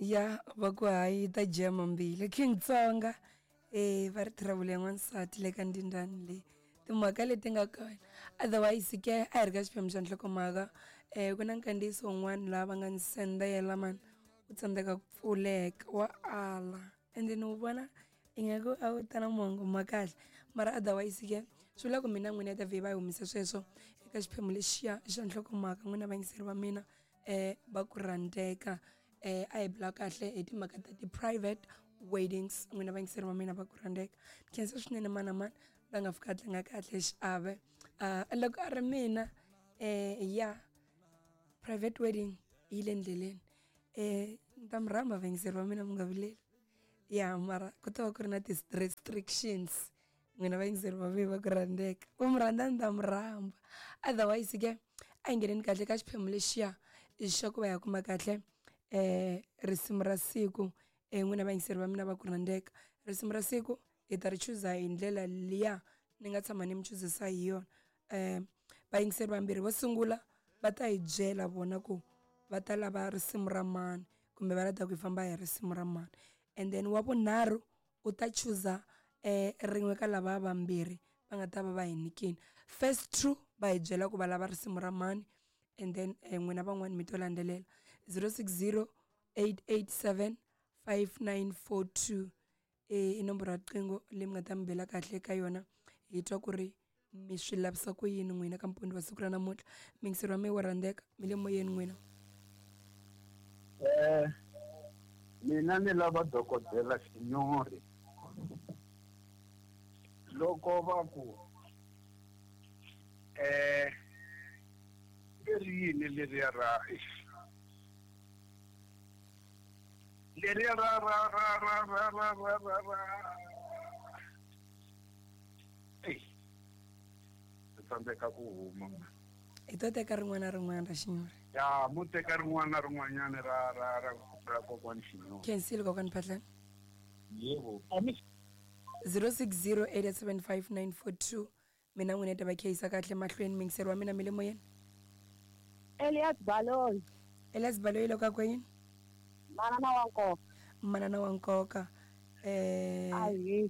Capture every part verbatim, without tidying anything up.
Ya va ku hayi ta jema mbili King Tsonga eh va ri travel ya n'wansati le ka ndindani leyi timhaka leti nga kona. Otherwise ke a hi ri ka xiphemu xa nhlokomhaka eh ku na nkandziyiso wun'wana laha va nga ni sendela mani u tsandzeka ku pfuleka wa ala ende ni wu vona ingaku a wu ta na mongo ma kahle mara otherwise ke swi vula ku mina n'wina ta vhe va yi humisa sweswo eka xiphemu lexiya xa nhlokomhaka n'wina vayingiseri va mina eh va ku rhandzeka eh a hi bula kahle hi timhaka ta ti-private weddings n'wina vayingiseri va mina va ku rhandzeka. Khensa swinene mana mani la nga fika a tlanga kahle xiave uh, loko a ri mina eh ya private wedding yi le ndleleni eh ni ta mi rhamba vayingiseri va mina mi nga vileli ya mara ku ta va ku ri na ti-restrictions n'wina vayingiseri va mina va ku rhandzeka ku mi rhandza ni ta mi rhamba. Otherwise ke a hi ngheneni kahle ka xiphemu lexiya xa ku va ya kuma kahle eh risimu ra siku eh n'wina vayingiseri va mina va ku rhandzeka. Risimu ra siku hi ta ri chuza hi ndlela liya ni nga tshama ni mi chuzisa hi yona eh vayingiseri vambirhi vo sungula va ta hi byela vona ku va ta lava risimu ra mani kumbe va lava ku hi famba hi risimu ra mani and then wa vunharhu u ta chuza eh rin'we ka lava vambirhi va nga ta va va hi nyikini. First two va hi byela ku va lava risimu ra mani and then n'wina van'wani mi to landzelela zero six zero eight eight seven five nine four two i nomboro ya riqingho leyi mi nga ta mi bela kahle ka yona hi twa ku ri mi swi lavisa ku yini n'wina ka mpondo wa siku ra namuntlha. Miyingiseri wa mina wo rhandzeka mi le moyeni n'wina. Eh mina ni lava dokodela Xinyori loko va ku eh leri yini leriya ra leriya ra ra ra ra ra ra ra ra ra ey ni tsandzeka ku huma. Hi to teka rin'wana na rin'wana ra Xinyori. Ya mu teka rin'wana na rin'wanyana ra ra ra ra kokwani Xinyori. Khensile kokwani Phahlane. Yebo. zero six zero eight seven five nine four two mina n'wina ta va kheyisa kahle mahlweni miyingiseri wa mina mi le moyeni. Elias Baloyi. Elias Baloyi loko a kweyini? Manana wa nkoka. Manana wa nkoka. Eh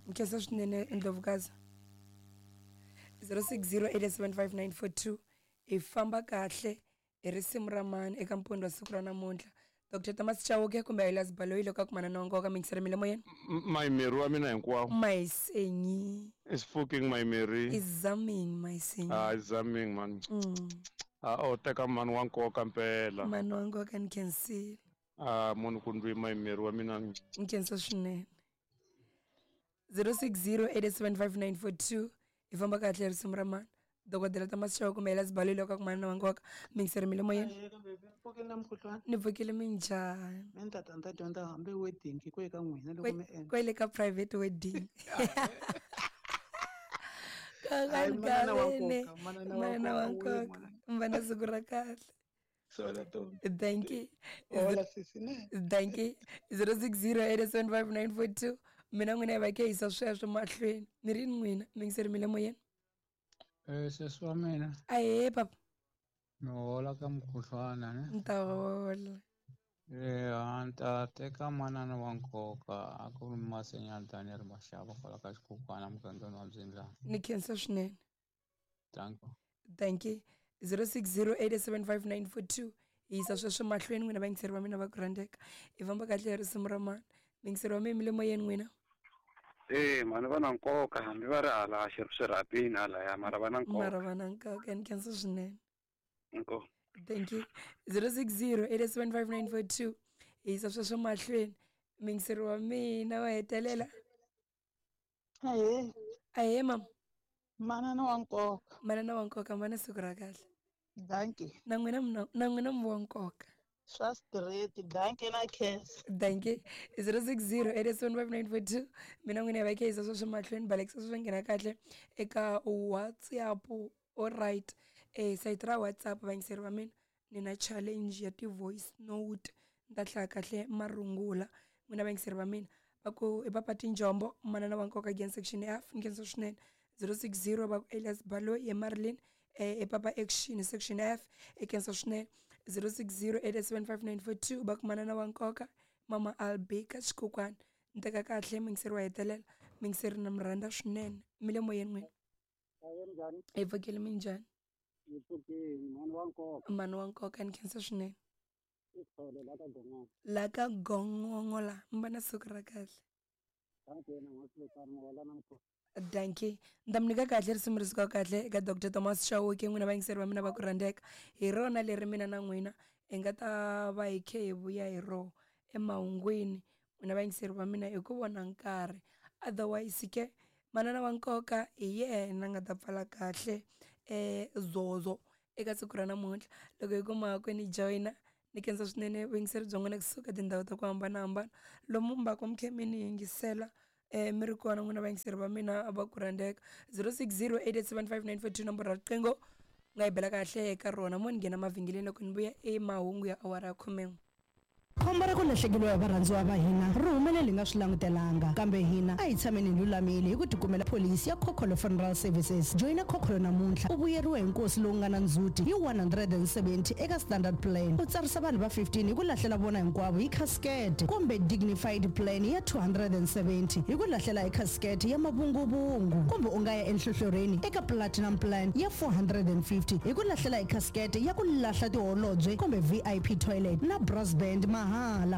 nkhensa swinene Ndlovukazi. zero six zero eight seven five nine four two hi famba kahle hi risimu ra mani eka mpondo wa siku ra namuntlha. Doctor Thomas Chauke kumbe Elias Baloyi loko a ku manana wa nkoka miyingiseri mi le moyeni. My Mary wa mina hinkwawo. Mayisenyi. Is fucking my Mary. Is zaming mayisenyi. Ah is zaming man. Mm. Ah o teka mani wa nkoka mpela. Mani wa nkoka ni khensile. Ah munhu ku ndzi my Mary wa mina. Ni khensa swinene. zero six zero eight seven five nine four two hi famba kahle risimu ra mani. Dokodela Thomas Chauke kumbe Elias Baloyi loko a ku manana wa nkoka miyingiseri mi le moyeni. Ni pfukile minjhani? Mina tata ni ta dyondza hambi wedding ku eka n'wina loko mi endla. Kwele ka private wedding. Kokani manana wa nkoka mi va na siku ra kahle. Thank you. Thank you. zero six zero eight seven five nine four two mina n'wina hi va kheyisa sweswo mahlweni ni ri n'wina miyingiseri mi le moyeni. Eh sesi wa mina. Ahee papa. Ni hola ka mukhuhlwana ne. Ni ta hola. Eh a ni ta teka manana wa nkoka a ku ri Masenyani Daniel Mashava kwala ka xikhukhwana mugangeni wa Mzindlana. Ni khensa swinene. Thank you. Thank you. zero six zero eight seven five nine four two hi yisa sweswo mahlweni n'wina vayingiseri va mina va ku rhandzeka. Hi famba kahle hi risimu ra mani. Miyingiseri wa mina mi le moyeni n'wina. Eh mani va na nkoka hambi va ri hala swirhapeni halaya mara va na nkoka. Mara va na nkoka ni khensa swinene. Nko. Thank you. zero six zero eight seven five nine four two hi yisa sweswo mahlweni miyingiseri wa mina wa hetelela. Ahee. Ahee mama. Manana wa nkoka. Manana wa nkoka mana siku ra kahle. Thank you. Na n'wina na n'wina mi wa nkoka. Swa straight thank you na khensa. Thank you. zero six zero eight seven five nine four two mina n'wina hi va kheyisa sweswo mahlweni balekisa sweswo nghena kahle eka WhatsApp. All right. Eh site ra WhatsApp vayingiseri va mina ni na challenge ya ti-voice note ni ta hlaya kahle marungula n'wina vayingiseri va mina va ku i papa Tinjombo manana wa nkoka again section F ni khensa swinene zero six zero va ku Elias Baloyi ye Marilyn eh e papa action section F e khensa swinene zero six zero eight seven five nine four two va ku manana wa nkoka mama Albika Xikukwana. Ni teka kahle muyingiseri wa hetelela, muyingiseri na mi rhandza swinene. Mi le moyeni n'wina? Hi pfukile, minjhani? Hi pfukile, mhani wa nkoka. Mhani wa nkoka, ni khensa swinene. La ka Gongongo la, mi va na siku ra kahle. Dankie. Ni ta mi nyika kahle risimu ri suka kahle eka Doctor Thomas Chauke, n'wina vayingiseri va mina va ku rhandzeka. Hi rona leri mina na n'wina hi nga ta va hi khe hi vuya hi rona emahungwini, n'wina vayingiseri va mina, hi ku vona nkarhi. Otherwise ke manana wa nkoka hi yena nga ta pfala kahle eh zozo eka siku ra namuntlha. Loko hi kuma ku ni joyina, ni khensa swinene vuyingiseri bya n'wina kusuka tindhawu ta ku hambanahambana lomu mi va ku mi khe mi ni yingisela eh mi ri kona n'wina vayingiseri va mina va ku rhandzeka. Zero six zero eight eight seven five nine four two nomboro ra riqingho nga yi bela kahle eka rona. Mo ni nghena mavhengeleni loko ni vuya emahungu ya awara ya khumen'we. Khombo ra ku lahlekeriwa hi varhandziwa va hina ri humelele hi nga swi langutelanga, kambe hina a hi tshameni hi lulamile hi ku tikumela pholisi ya Khokholo Funeral Services. Joyina Khokholo namuntlha u vuyeriwa hi nkosi lowu nga na ndzhuti hi one hundred and seventy eka standard plan. U tsarisa vanhu va fifteen hi ku lahlela vona hinkwavo hi casket, kumbe dignified plan ya two hundred and seventy hi ku lahlela hi casket ya mavunguvungu, kumbe u nga ya enhlohlorhini eka platinum plan ya four hundred and fifty hi ku lahlela hi casket ya ku lahla tiholobye kumbe V I P toilet na brass band mahala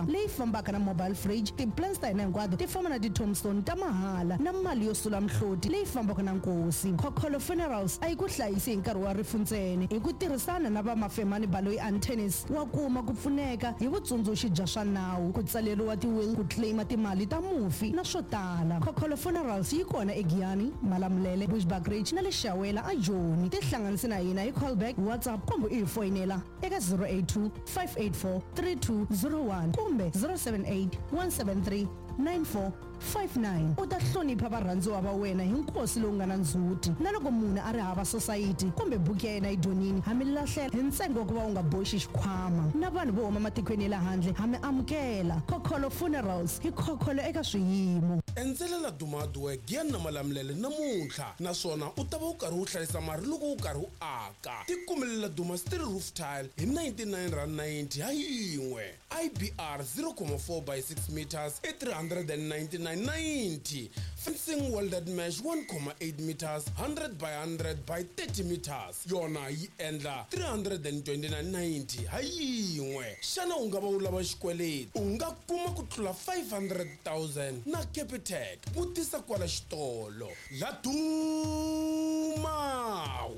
leyi fambaka na mobile fridge. Ti-plans ta hina hinkwato ti famba na ti-tombstone ta mahala na mali yo sula mihloti leyi fambaka na nkosi. Khokholo Funerals a yi ku hlayisi hi nkarhi wa rifu ntsena, hi ku tirhisana na va Mafemani Baloyi Antennis wa kuma ku pfuneka hi vutsundzuxi bya swa nawu, ku tsaleriwa ti-will, ku claima timali ta mufi na swo tala. Khokholo Funerals yi kona eGiyani, Malamulele, Bushbuckridge na le Shawela a Joni. Tihlanganise na hina hi callback, WhatsApp kumbe u hi foyinela eka zero eight two five eight four three two zero one kumbe zero seven eight one seven three nine four five nine. U ta hlonipha varhandziwa va wena hi nkosi lowu nga na ndzhuti. Na loko munhu a ri hava society kumbe buku ya yena yi dyonini, ha mi lahlela hi ntsengo wa ku va u nga boxi xikhwama. Na vanhu vo huma matikweni ya le handle ha mi amukela. Khokholo Funerals, hi khokholo eka swiyimo. Endzelela Dumadwe Giyani na Malamulele namuntlha, naswona u ta va u karhi u hlayisa mali loko u karhi u aka. Tikumelela Duma Steel Roof Tile hi ninety-nine rand ninety ha yin'we. I B R zero comma four by six meters i three hundred and ninety-nine ninety. Fencing welded mesh one comma eight meters, hundred by hundred by thirty meters. Yona yi endla three hundred and twenty-nine ninety ha yin'we. Xana u nga va u lava xikweleti? U nga kuma ku tlula five hundred thousand na Capitec. Vutisa kwala xitolo. La Duma,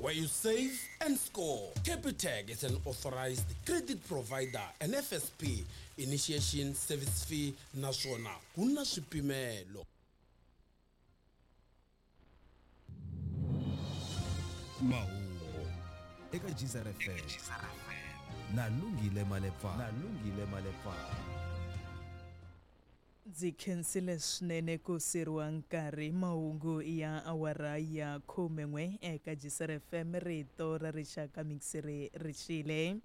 where you save and score. Capitec is an authorized credit provider and F S P. Initiation service fee naswona ku na swipimelo. Mahungu eka Geyser F M na Lungile Malepa, na Lungile Malepa. Ndzi khensile swinene ku siriwa nkarhi. Mahungu ya awara ya khumen'we eka Geyser F M, rito ra rixaka mixiri rixile.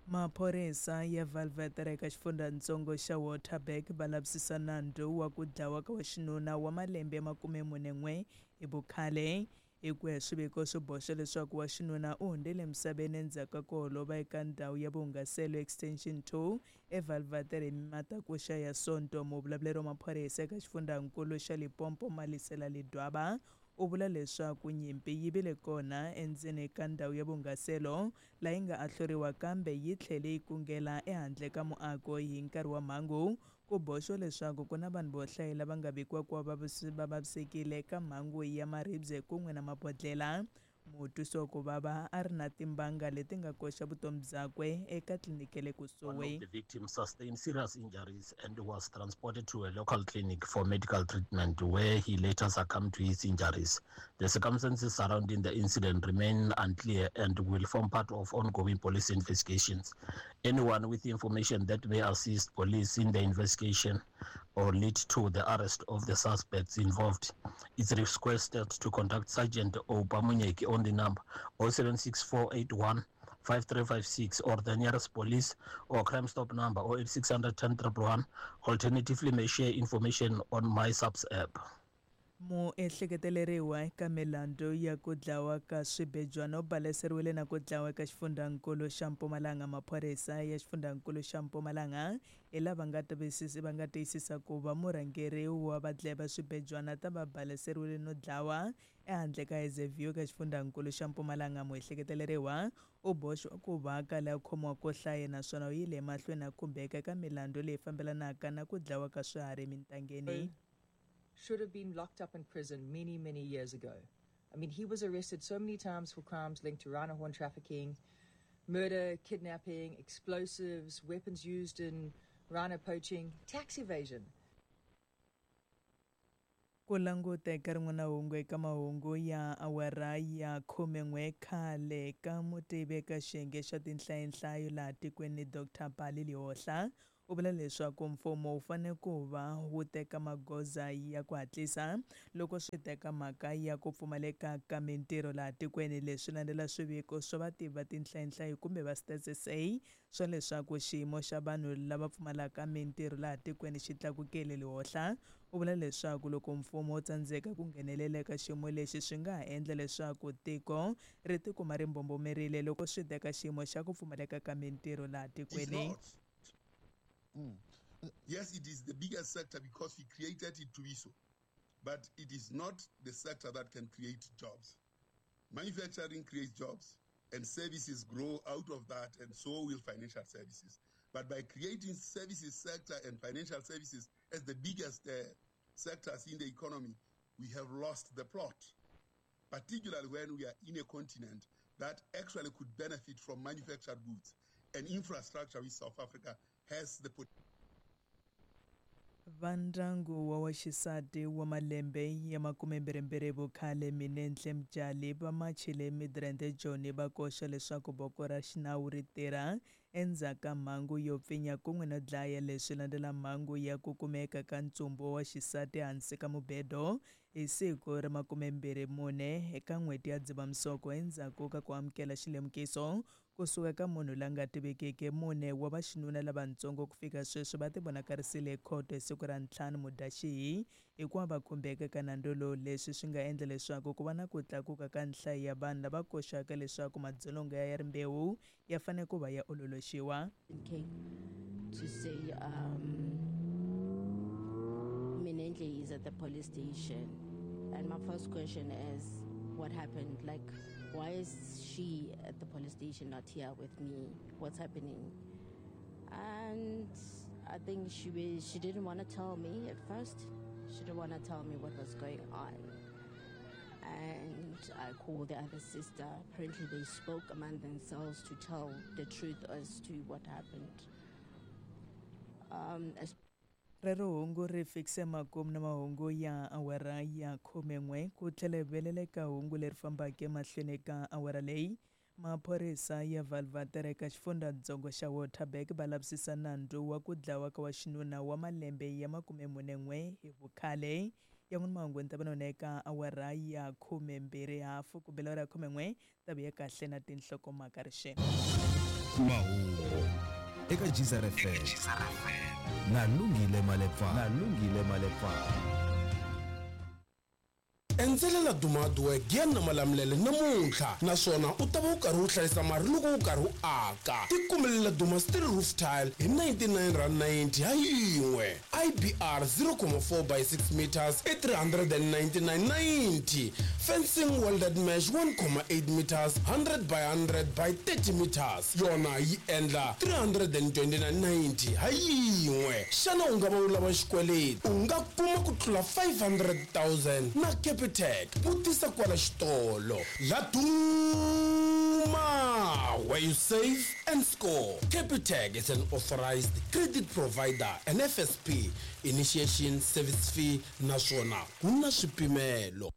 Maphorisa ya Valvetere eka xifundzhantsongo xa Waterberg va lavisisa nandzu wa ku dlawa ka waxinuna wa malembe ya makume mune n'we hi vukhale. Hi ku ya swiviko swi boxa leswaku waxinuna u hundzile emisaveni endzhaku ka ku holova eka ndhawu ya vuhungaselo Extension two eValvetere hi matakuxa ya Sonto. Muvulavuleri wa maphorisa eka xifundzhankulu xa Limpopo Malisela Ledwaba u vula leswaku nyimpi yi vile kona endzeni ka ndhawu ya vuhungaselo laha yi nga ahluriwa, kambe yi tlhele yi kungela ehandle ka muako hi nkarhi wa mhangu. Ku boxiwa leswaku ku na vanhu vo hlaya lava nga vikiwa ku va va vavisekile eka mhangu ya maribye kun'we na mabodhlela. Mutwisi wa ku vava a ri na timbanga leti nga koxa vutomi byakwe eka tliliniki le kusuhi. One of the victims sustained serious injuries and was transported to a local clinic for medical treatment, where he later succumbed to his injuries. The circumstances surrounding the incident remain unclear and will form part of ongoing police investigations. Anyone with information that may assist police in the investigation or lead to the arrest of the suspects involved is requested to contact Sergeant Obamunyeki on the number oh seven six four eight one five three five six or the nearest police or Crime Stop number oh eight six hundred ten triple one. Alternatively, may share information on MySAPS app. Muehleketeleriwa eka milandzu ya ku dlawa ka swibejwana u baleseriwile na ku dlawa eka xifundzankulu xa Mpumalanga. Maphorisa ya xifundzankulu xa Mpumalanga hi lava nga tivisisi va nga tiyisisa ku va murhangeri wa vadlayi va swibejwana ta va baleseriwile no dlawa ehandle ka Hazyview eka xifundzankulu xa Mpumalanga. Muehleketeleriwa u boxiwa ku va kale a khomiwa ko hlaya naswona u yile emahlweni a khumbeka eka milandzu leyi fambelanaka na ku dlawa ka swiharhi emintangeni. Should have been locked up in prison many, many years ago. I mean, he was arrested so many times for crimes linked to rhino horn trafficking, murder, kidnapping, explosives, weapons used in rhino poaching, tax evasion. Ku languta eka rin'wana hungu eka mahungu ya awara ya khumen'we khale ka mutivi eka xiyenge xa tinhlayonhlayo laha tikweni Doctor Pali Lehohla u vula leswaku mfumo wu fanele ku va wu teka magoza ya ku hatlisa loko swi teka mhaka ya ku pfumaleka ka mintirho laha tikweni. Leswi landzela swiviko swa vativi va tinhlayonhlayo kumbe va Stats S A swa leswaku xiyimo xa vanhu lava pfumalaka mintirho laha tikweni xi tlakukile. Lehohla u vula leswaku loko mfumo wu tsandzeka ku nghenelela eka xiyimo lexi swi nga ha endla leswaku tiko ri tikuma ri mbombomerile loko swi teka xiyimo xa ku pfumaleka ka mintirho laha tikweni. Mm. Yes, it is the biggest sector because we created it to be so. But it is not the sector that can create jobs. Manufacturing creates jobs, and services grow out of that, and so will financial services. But by creating services sector and financial services as the biggest uh, sectors in the economy, we have lost the plot, particularly when we are in a continent that actually could benefit from manufactured goods and infrastructure which South Africa has the potential. Vandyangu wa waxisati wa malembe ya makumembirhimbirhi vukhale Minenhle Mjali va machile Midrand Joni va koxa leswaku voko ra xinawu ri tirha endzhaku ka mhangu yo pfinya kun'we no dlaya. Leswi landzela mhangu ya ku kumeka ka ntsumbu wa xisati hansi ka mubedo hi siku ra makumembirhi mune eka n'hweti ya Dzivamisoko endzhaku ka ku amukela xilemukiso kusuka ka munhu la nga tivekiki. Mune wa vaxinuna lavatsongo ku fika sweswi va tivonakarisile ekhoto hi siku ra ntlhanu Mudyaxihi hikuva va khumbeka ka nandzu lowu. Leswi swi nga endla leswaku ku va na ku tlakuka ka nhlayo ya vanhu lava koxaka leswaku madzolonga ya rimbewu ya fanele ku va ya ololoxiwa. To say um, Minenhle is at the police station, and my first question is, what happened? Like, why is she at the police station, not here with me? What's happening? And I think she was, she didn't want to tell me at first. She didn't want to tell me what was going on. And I called the other sister. Apparently they spoke among themselves to tell the truth as to what happened. Um, as Rero hungu ri fikise makumu na mahungu ya awara ya khumen'we ku tlhela hi veleleka hungu leri fambaka emahlweni ka awara leyi. Maphorisa ya Valvater eka xifundzatsongo xa Waterberg va lavisisa nandzu wa ku dlawa ka waxinuna wa malembe ya makumemunen'we hi vukhale. Yan'wana mahungu ni ta va nona eka awara ya khumembirhi hafu ku bela awara ya khumen'we ta vuya kahle na tinhlokomhaka rixema. Mahungu eka G Z F M na Lungile Malepa na Lungile Malepa. Endzelela Dumadwe Giyan na Malamulele namuntlha naswona u ta va u karhi u hlayisa mali loko u karhi u aka. Tikumelela Duma Steel Roof Tile hi ninety-nine rand ninety ha yin'we. I B R zero point four by six meters i three hundred and ninety-nine ninety. Fencing welded mesh one point eight meters hundred by hundred by thirty meters yona yi endla three hundred and twenty-nine ninety ha yin'we. Xana u nga va u lava xikweleti? U nga kuma ku tlula five hundred thousand na Capitec. Vutisa kwala xitolo. Laduma, where you save and score. Capitec is an authorized credit provider and F S P initiation service fee naswona ku na swipimelo.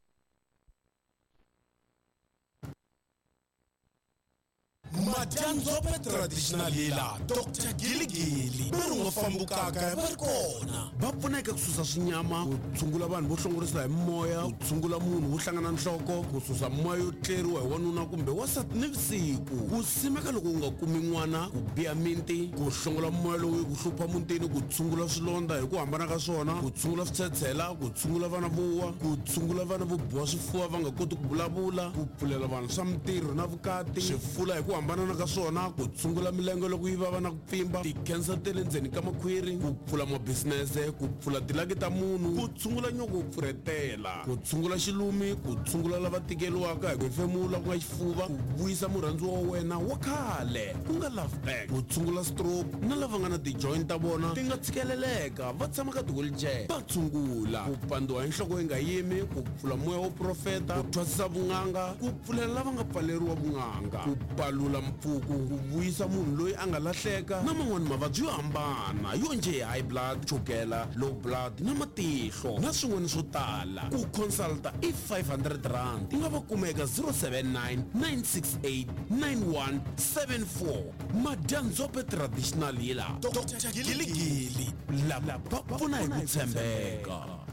Madyandzhope traditional healer Doctor Giligili va ri nga fambukaka va ri kona va pfuna eka ku susa swinyama ku tshungula vanhu vo hlongorisa hi moya ku tshungula munhu wo hlangana nhloko ku susa moya yo tleriwa hi wanuna kumbe wansati nivusiku ku simeka loko u nga kumi n'wana ku biha minti ku hlongola moya lowu ku hlupha mutini ku tshungula swilondza hi ku hambana ka swona ku tshungula switshetshela ku tshungula vana vo wa ku tshungula vana vo biwa swifuva va nga koti ku vulavula ku pfulela vanhu swa mintirho na vukati swifula hi ku hambanana ka swona ku tshungula milenge loko yi vava na ku pfimba ti-cancer ta le ndzeni ka makhwiri ku pfula mabisinese ku pfula tilaki ta munhu ku tshungula nyoko wo pfurhetela ku tshungula xilumi ku tshungula lava tikeriwaka hi ku hefemula ku nga xifuva ku vuyisa murhandziwa wa wena wa khale ku nga love back ku tshungula stroke na lava nga na ti-joint ta vona ti nga tshikeleleka va tshama ka ti-wheelchair va tshungula ku pandziwa hi nhloko yi nga yimi ku pfula moya wo profeta ku thwasisa vun'anga ku pfulela lava nga pfaleriwa vun'anga ku palula mpfuku ku vuyisa munhu loyi a nga lahleka na man'wani mavabyi yo hambana yo njhe hi high blood chukela low blood na matihlo na swin'wana swo tala ku consulta i five hundred rand u nga va kuma eka zero seven nine nine six eight nine one seven four Madyandzhope traditional healer Doctor Giligili lava va pfuna hi ku tshembeka.